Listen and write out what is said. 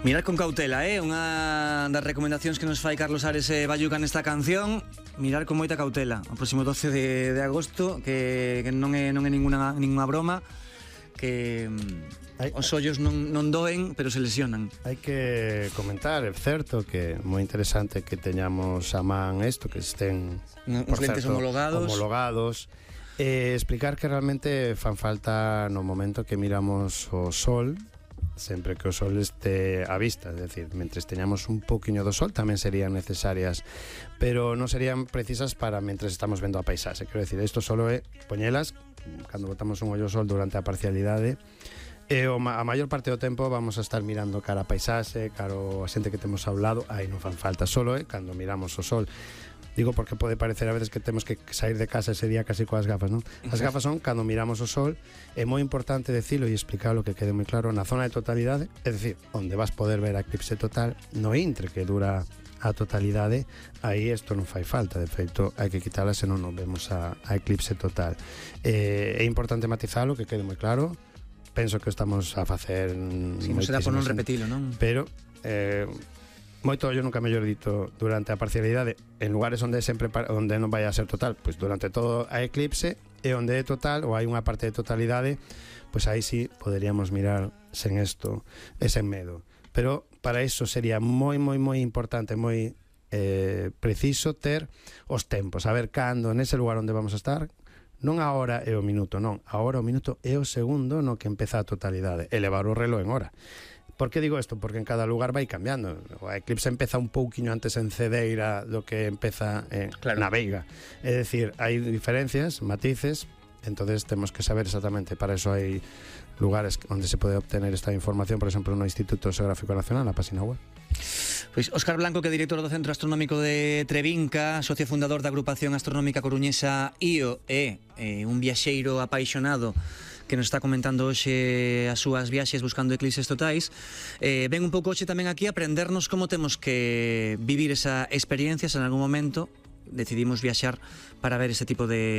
Mirar con cautela, unha das recomendacións que nos fai Carlos Ares e Bayuca nesta canción. Mirar con moita cautela. O próximo 12 de agosto, que non é ninguna broma, que os ollos non doen, pero se lesionan. Hai que comentar, é certo que é moi interesante que teñamos a man isto, que estén uns lentes homologados. Explicar que realmente fan falta no momento que miramos o sol, sempre que o sol este á vista, é dicir, mentre teñamos un poquinho do sol tamén serían necesarias, pero non serían precisas para mentre estamos vendo a paisaxe. Quero dicir, isto solo é poñelas cando botamos un ollo ao sol durante a parcialidade, e a maior parte do tempo vamos a estar mirando cara a paisaxe, cara a xente que temos ao lado. Aí non fan falta, solo é cando miramos o sol. Digo porque pode parecer a veces que temos que sair de casa ese día casi coas gafas, non? As gafas son cando miramos o sol. É moi importante decirlo e explicarlo, que quede moi claro, na zona de totalidade, é dicir, onde vas poder ver a eclipse total, no intre que dura a totalidade, aí isto non fai falta, de feito hai que quitala senón non vemos a eclipse total. É importante matizalo, que quede moi claro. Penso que estamos a facer si, non será por non repetilo, non? Pero moito ollo, nunca mellor dito, durante a parcialidade, en lugares onde non vai a ser total, pois durante todo a eclipse, e onde é total ou hai unha parte de totalidade, pois aí sí poderíamos mirar sen isto e sen medo. Pero para iso sería moi importante, moi preciso ter os tempos, saber cando nese lugar onde vamos a estar. Non a hora e o minuto, non. A hora, o minuto e o segundo no que empeza a totalidade. Elevar o reloj en hora. Por que digo isto? Porque en cada lugar vai cambiando. O eclipse empeza un pouquiño antes en Cedeira do que empeza na Veiga. É dicir, hai diferencias, matices, entonces temos que saber exactamente. Para eso hai lugares onde se pode obtener esta información, por exemplo, no Instituto Xeográfico Nacional, na página web. Pois Óscar Blanco, que é director do Centro Astronómico de Trevinca, socio fundador da agrupación astronómica coruñesa IO, e un viaxeiro apaixonado que nos está comentando hoxe as súas viaxes buscando eclipses totais. Ven un pouco hoxe tamén aquí a aprendernos como temos que vivir esa experiencia se en algún momento decidimos viaxar para ver ese tipo de